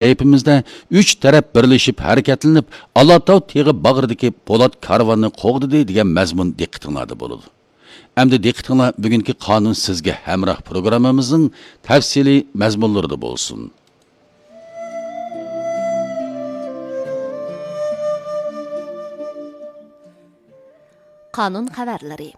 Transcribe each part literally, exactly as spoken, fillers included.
سەھىپىمىزدە ئۈچ تەرەپ بىرلىشىپ ھەرىكەتلىنىپ، ئالاتاۋ تېغى باغرىدىكى پولات كارۋاننى قوغدىدى دېگەن مەزمۇن دىققىتىڭلاردا بولىدۇ. ئەمدى دىققىتىڭلار بۈگۈنكى قانۇن سىزگە ھەمراھ پروگراممىمىزنىڭ تەپسىلىي مەزمۇنلىرىدا بولسۇن. قانۇن خەۋەرلىرى.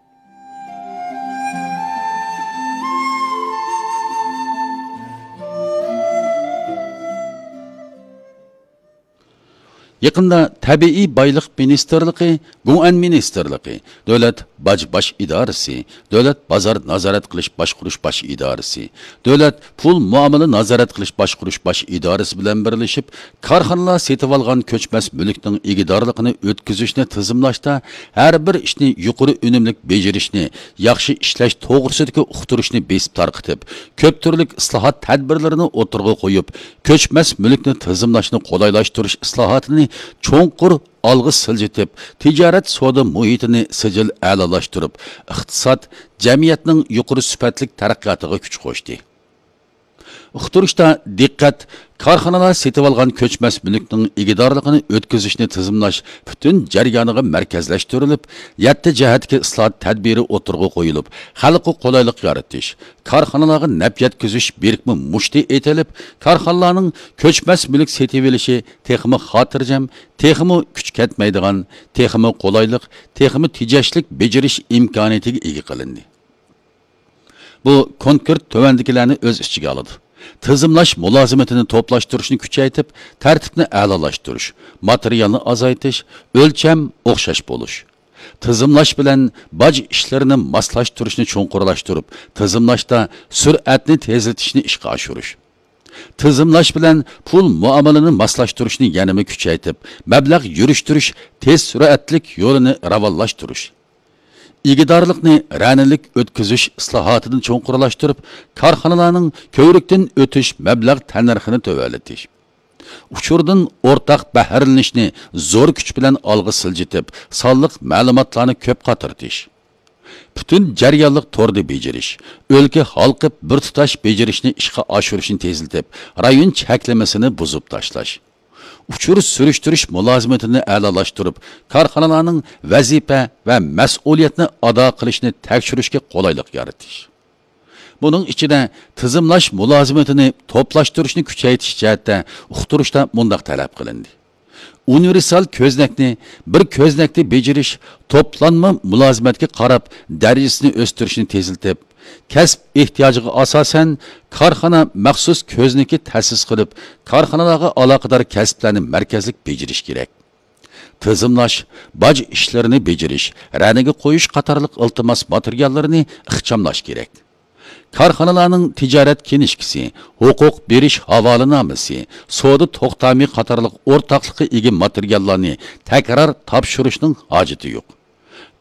يېقىندا تەبىئىي بايلىق مىنىستىرلىقى، گۇڭئەن مىنىستىرلىقى، دۆلەت باج باش ئىدارىسى، دۆلەت بازار نازارەت قىلىش باشقۇرۇش باش ئىدارىسى، دۆلەت پۇل مۇئامىلە نازارەت قىلىش باشقۇرۇش باش ئىدارىسى بىلەن بىرلىشىپ، كارخانىلار سېتىۋالغان كۆچمەس مۈلۈكنىڭ ئىگىدارلىقىنى ئۆتكۈزۈشنى تىزىملاشتا ھەر بىر ئىشنى يۇقىرى ئۈنۈملۈك بېجىرىشنى، ياخشى ئىشلەش توغرىسىدىكى ئۇقتۇرۇشنى بېسىپ تارقىتىپ، كۆپ تۈرلۈك ئىسلاھات تەدبىرلىرىنى ئوتتۇرىغا قويۇپ، كۆچمەس مۈلۈكنى تىزىملاشنى قولايلاشتۇرۇش ئىسلاھاتىنى چوڭقۇر ئالغا سىلجىتىپ، تىجارەت سودا مۇھىتىنى سىجىل ئەلالاشتۇرۇپ، ئىقتىساد، جەمئىيەتنىڭ يۇقىرى سۈپەتلىك تەرەققىياتىغا كۈچ قوشتى. ئۇقتۇرۇشتا دىققەت كارخانىلار سېتىۋالغان كۆچمەس مۈلۈكنىڭ ئىگىدارلىقىنى ئۆتكۈزۈشنى تىزىملاش پۈتۈن جەريانىغا مەركەزلەشتۈرۈلۈپ، يەتتە جەھەتتىكى ئىسلاھات تەدبىرى ئوتتۇرىغا قويۇلۇپ، خەلققە قولايلىق يارىتىش، كارخانىلارغا نەپ يەتكۈزۈش بىرىكمە مۇشتى ئېتىلىپ، كارخانىلارنىڭ كۆچمەس مۈلۈك سېتىۋېلىشى تېخىمۇ خاتىرجەم، تېخىمۇ كۈچ كەتمەيدىغان، تېخىمۇ قولايلىق، تېخىمۇ تېجەشلىك بېجىرىش ئىمكانىيىتىگە ئىگە قىلىندى. بۇ كونكرېت تۆۋەندىكىلەرنى ئۆز ئىچىگە ئالىدۇ: تىزىملاش مۇلازىمىتىنى توپلاشتۇرۇشنى كۈچەيتىپ، تەرتىپنى ئەلالاشتۇرۇش، ماتېرىيالنى ئازايتىش، ئۆلچەم ئوخشاش بولۇش. تىزىملاش بىلەن باج ئىشلىرىنى ماسلاشتۇرۇشنى چوڭقۇرلاشتۇرۇپ، تىزىملاشتا سۈرئەتنى تېزلىتىشنى ئىشقا ئاشۇرۇش. تىزىملاش بىلەن پۇل مۇئامىلىنى ماسلاشتۇرۇشنى يەنىمۇ كۈچەيتىپ، مەبلەغ يۈرۈشتۈرۈش تېز سۈرئەتلىك يولىنى راۋانلاشتۇرۇش. ئىگىدارلىقنى رەنىلىك ئۆتكۈزۈش ئىسلاھاتىنى چوڭقۇرلاشتۇرۇپ، كارخانىلارنىڭ كۆۋرۈكتىن ئۆتۈش مەبلەغ تەننەرخىنى تۆۋەنلىتىش. ئۇچۇردىن ئورتاق بەھرىلىنىشنى زور كۈچ بىلەن ئالغا سىلجىتىپ، سانلىق مەلۇماتلارنى كۆپ قاترىتىش. پۈتۈن جەريانلىق توردا بېجىرىش، ئۆلكە ھالقىپ بىر تۇتاش بېجىرىشنى ئىشقا ئاشۇرۇشنى تېزلىتىپ، رايون چەكلىمىسىنى بۇزۇپ تاشلاش. ئۇچۇر سۈرۈشتۈرۈش مۇلازىمىتىنى ئەلالاشتۇرۇپ، كارخانىلارنىڭ ۋەزىپە ۋە مەسئۇلىيەتنى ئادا قىلىشنى تەكشۈرۈشكە قولايلىق يارىتىش. بۇنىڭ ئىچىدە تىزىملاش مۇلازىمىتىنى توپلاشتۇرۇشنى كۈچەيتىش جەھەتتە ئۇقتۇرۇشتا مۇنداق تەلەپ قىلىندى: ئۇنىۋېرسال كۆزنەكنى بىر كۆزنەكتە بېجىرىش توپلانما مۇلازىمەتكە قاراپ دەرىجىسىنى ئۆستۈرۈشنى تېزلىتىپ، كەسىپ ئېھتىياجىغا ئاساسەن كارخانا مەخسۇس كۆزنىكى تەسىس قىلىپ، كارخانىلارغا ئالاقىدار كەسىپلەرنى مەركەزلىك بېجىرىش كېرەك. تىزىملاش، باج ئىشلىرىنى بېجىرىش، رەنىگە قويۇش قاتارلىق ئىلتىماس ماتېرىياللىرىنى ئىخچاملاش كېرەك. كارخانىلارنىڭ تىجارەت كىنىشكىسى، ھوقۇق بېرىش ھاۋالىنامىسى، سودا توختامى قاتارلىق ئورتاقلىققا ئىگە ماتېرىياللارنى تەكرار تاپشۇرۇشنىڭ ھاجىتى يوق.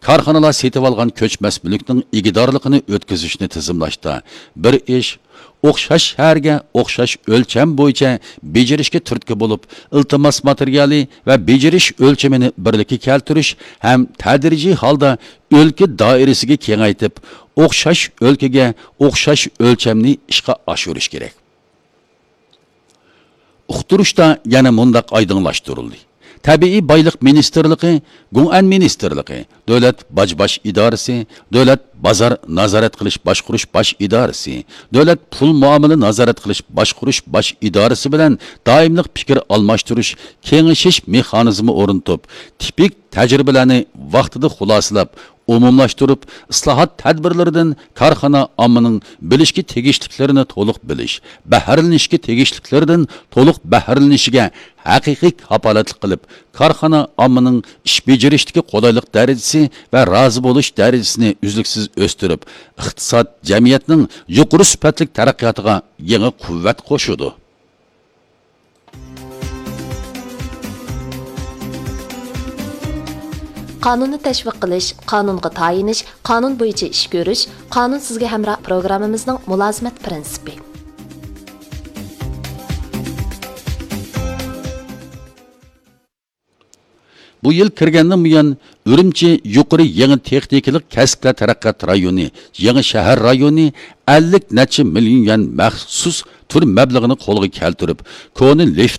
كارخانىلار سېتىۋالغان كۆچمەس مۈلۈكنىڭ ئىگىدارلىقىنى ئۆتكۈزۈشنى تىزىملاشتا بىر ئىش، ئوخشاش شەھەرگە ئوخشاش ئۆلچەم بويىچە بېجىرىشكە تۈرتكە بولۇپ، ئىلتىماس ماتېرىيالى ۋە بېجىرىش ئۆلچىمىنى بىرلىككە كەلتۈرۈش ھەم تەدرىجىي ھالدا ئۆلكە دائىرىسىگە كېڭەيتىپ، ئوخشاش ئۆلكىگە ئوخشاش ئۆلچەمنى ئىشقا ئاشۇرۇش كېرەك. ئۇقتۇرۇشتا يەنە مۇنداق ئايدىڭلاشتۇرۇلدى: تەبىئىي بايلىق مىنىستىرلىقى، گۇڭئەن مىنىستىرلىقى، دۆلەت باج باش ئىدارىسى، دۆلەت بازار نازارەت قىلىش باشقۇرۇش باش ئىدارىسى، دۆلەت پۇل مۇئامىلە نازارەت قىلىش باشقۇرۇش باش ئىدارىسى بىلەن دائىملىق پىكىر ئالماشتۇرۇش، كېڭىشىش مېخانىزمى ئورنىتىپ، تىپىك تەجرىبىلەرنى ۋاقتىدا خۇلاسىلاپ، ئومۇملاشتۇرۇپ، ئىسلاھات تەدبىرلىرىدىن كارخانا ئاممىنىڭ بىلىشكە تېگىشلىكلىرىنى تولۇق بىلىش، بەھرىلىنىشكە تېگىشلىكلىرىدىن تولۇق بەھرىلىنىشىگە ھەقىقىي كاپالەتلىك قىلىپ، كارخانا ئاممىنىڭ ئىش بېجىرىشتىكى قولايلىق دەرىجىسى ۋە رازى بولۇش دەرىجىسىنى ئۈزلۈكسىز ئۆستۈرۈپ، ئىقتىساد، جەمئىيەتنىڭ يۇقىرى سۈپەتلىك تەرەققىياتىغا يېڭى قۇۋۋەت قوشىدۇ. قانۇننى تەشۋىق قىلىش، قانۇنغا تايىنىش، قانۇن بويىچە ئىش كۆرۈش، قانۇن سىزگە ھەمراھ پروگراممىمىزنىڭ مۇلازىمەت پىرىنسىپى. بۇ يىل كىرگەندىن بۇيان، ئۈرۈمچى يۇقىرى يېڭى تېخنىكىلىق كەسىپلەر تەرەققىيات رايونى، يېڭى شەھەر رايونى ئەللىك نەچچە مىليون يۈەن مەخسۇس تۈر مەبلىغىنى قولغا كەلتۈرۈپ، كونا لىفت